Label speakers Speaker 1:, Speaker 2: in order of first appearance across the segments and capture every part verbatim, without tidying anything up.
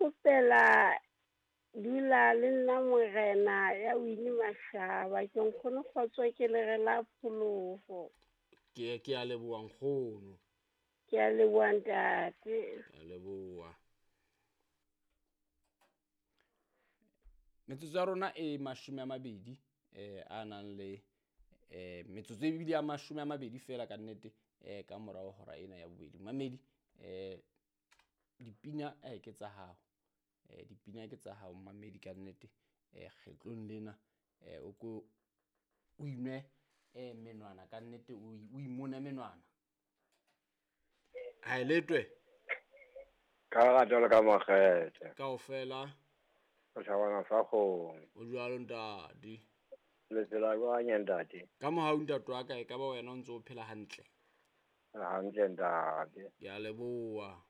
Speaker 1: kgopela dula le nna morena ya Winnie Mashaba ke nkgono kgotso ke lere la pholoho.
Speaker 2: Ke ke a leboha nkgono.
Speaker 1: Ke a leboha ntate.
Speaker 2: Ke a leboha. Metsotso ya rona e mashome a mabedi eh a nang le eh metsotso e bile ya mashome a mabedi fela ka nnete eh ka morao hora ena ya bobedi. Mamedi eh dipina eh ke tsa hao. Eh dipina ke tsa hao mamedi ka nnete eh kgetlong lena eh o ko o inwe eh menwana ka nnete o o imone menwana. Ha letwe.
Speaker 3: Ka rato le ka makgethe.
Speaker 2: Kaofela.
Speaker 3: O tjhabana sa kgomo.
Speaker 2: O jwalo ntate.
Speaker 3: Le tsela jwang ntate?
Speaker 2: Ka mohau ntate wa ka e ka ba wena o ntso o phela hantle.
Speaker 3: Hantle ntate.
Speaker 2: Ke a leboha.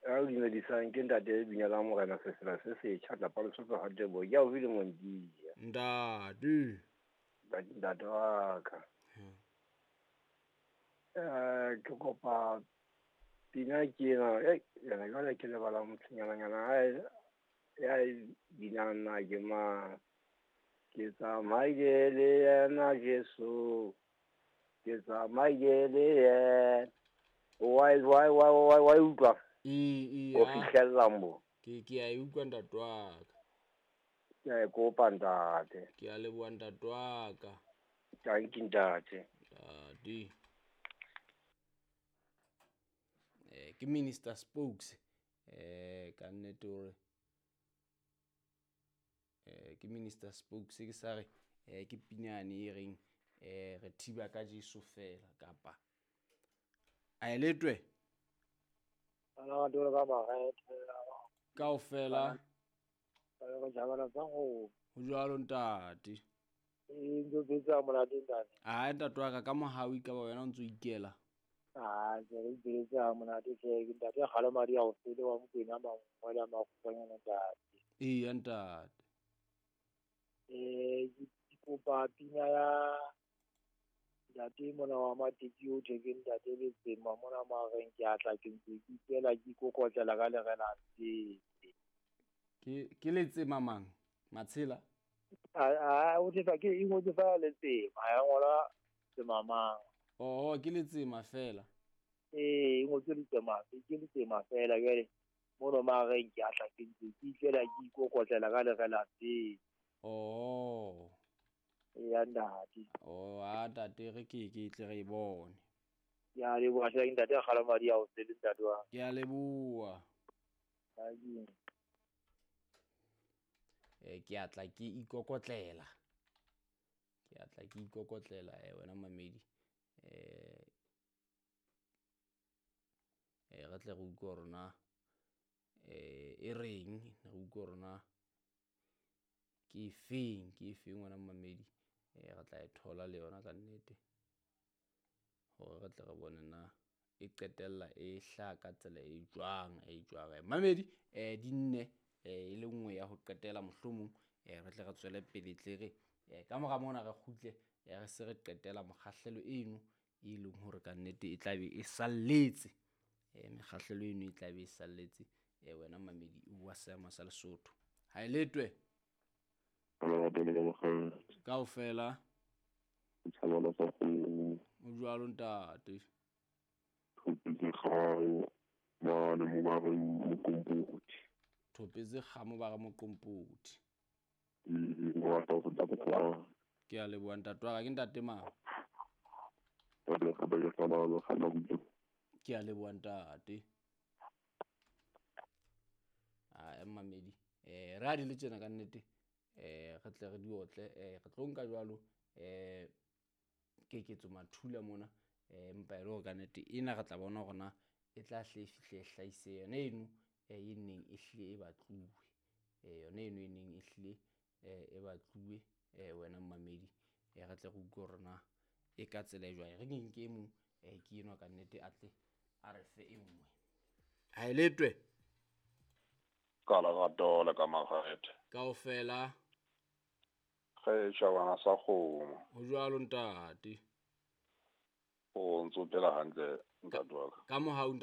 Speaker 3: Ya o dumedisang ke ntate Binela Morena sesela se setjha tlapa Lesotho ha Tebo ya o bile mondia.
Speaker 2: Ntate.
Speaker 3: Ntate wa ka. Eh ke kopa pina ke ena eh yena jwale ke lebala motshonyana ya binang na ke mang. Ke tsamaile le yena Jesu. Ke tsamaile le yena. Why why why why why utlwa?
Speaker 2: E e
Speaker 3: o fihlella mo.
Speaker 2: Ke ke a e utlwa ntate wa ka.
Speaker 3: Ke a e kopa ntate.
Speaker 2: Ke a leboha ntate wa ka.
Speaker 3: Thank you ntate.
Speaker 2: Ntate. Eh ke Minister Spokes eh ka nnete hore eh ke Minister Spokes ke sa re eh ke pinyane e reng eh re thiba ka Jesu fela kapa a eletwe
Speaker 4: ala dole ka makgethe
Speaker 2: kaofela
Speaker 4: ba jabana tsa go
Speaker 2: ho jwalo ntate.
Speaker 4: E ntse tsa monate ntate.
Speaker 2: A ntate wa ka ka mohau ka ba wena o ntso ikela.
Speaker 4: Ah ke re tsa monate ke ntate galo madi a o fele wa mokwena mangwe la makgonyana ntate.
Speaker 2: E ntate.
Speaker 4: Eh ke kopa pina ya ntate mona wa Mateki o theke ntate Letsema mona mareng ke atla ke ntse ke ikela ke ikokotlela ka lerela tse.
Speaker 2: Ke ke Letsema mang? Matshela?
Speaker 4: A a o tse ke e ngotse fa Letsema ya ngola Letsema mang.
Speaker 2: Oh ke Letsema fela.
Speaker 4: Eh e ngotse Letsema ke Letsema fela jwale mona mareng ke atla ke ntse ke ikela ke ikokotlela ka lerela tse.
Speaker 2: Oh.
Speaker 4: Ya ntate.
Speaker 2: Oh, a ntate re ke ke tle re bone.
Speaker 4: Ya leboha hle ntate galo madi a o sele ntate wa.
Speaker 2: Ke a leboha. Eh ke atla ke ikokotlela. Ke atla ke ikokotlela eh wena mamedi. Eh eh re tle re utlwe rona eh e reng re utlwe rona ke feng ke feng wena mamedi eh re tla e thola le yona ka nnete hore re tle re bone na e qetella e hla ka tsela e jwang e jwang mamedi eh di nne eh e le nngwe ya ho qetela mohlomong eh re tle re tswele pele tle re eh ka mora mona re kgutle re se re qetela mokgahlelo eno e leng hore ka nnete e tla be e salletse eh mekgahlelo eno e tla be e salletse eh wena mamedi wa seema sa Lesotho ha e letwe kaofela o jwalo ntate. Thopetse kgamo ba re moqompothi. Ke a leboha ntate wa ka ke ntate mang? Ke a leboha ntate. A mamedi eh re a di le tjena ka nnete eh re tle re di otle eh re tlo nka jwalo eh keketso mathula mona eh empa e le hore ka nnete ena re tla bona hore na e tla hle e fihle e hlahise yona eno e neng e hlile e batluwe eh yona eno e neng e hlile e batluwe eh wena mamedi eh re tle re utlwe hore na e ka tsela e jwang re ke nke e mong eh ke enwa ka nnete a tle a re fe e nngwe ha e letwe
Speaker 5: ka lerato le ka makgethe
Speaker 2: kaofela
Speaker 5: ge tjhabana sa kgomo
Speaker 2: ho jwalo ntate
Speaker 5: o ntso phela hantle ntate wa ka
Speaker 2: ka mohau.